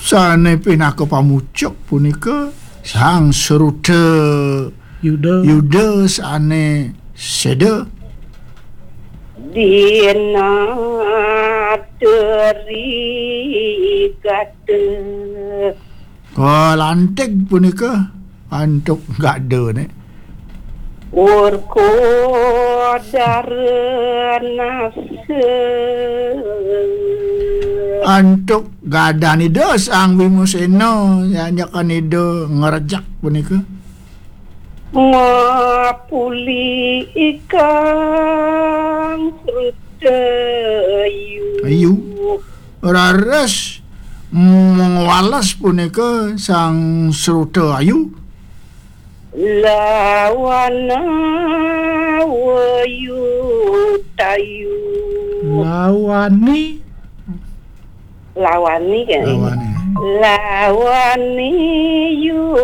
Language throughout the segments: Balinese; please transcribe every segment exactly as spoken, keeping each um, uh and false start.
Sane pinaka pamucuk punika Sang Sruta Yuda. Yuda sane seda. Dina teri gata. Kalantig punika antuk gadane. Urko dara nasa. Antuk gadanida Sang Wimusena, nyanyakan Ida ngrejek punika. Mapuli ikang Sruta Ayu. Ayu. Raris mengwales punika Sang Sruta Ayu. Lawana wayu tayu. Lawani. Lawani kan? Lawani. Lawani yu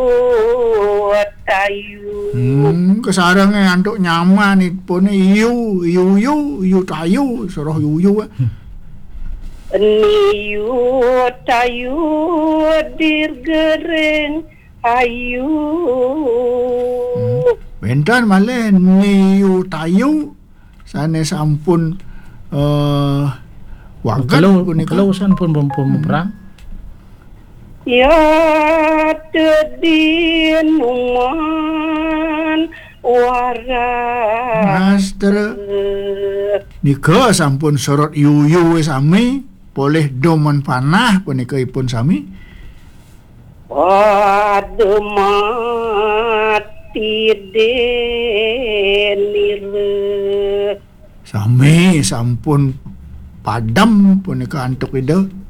tayu. Hmm, kasarenge antuk nyaman ipun yu, yu, yu, yu tayu, suruh yu, yu. Ni yu tayu dirgering ayu. Hmm. Wenten malih ni yu tayu sane sampun, eh, waged punika. Kalau sampun, pun, pun perang. Ya tedin numan wara. Master. Nika sampun sorot yuyu sami, polih doman panah punika ipun sami. Pada mati denira. Sami sampun padem punika antuk Ida.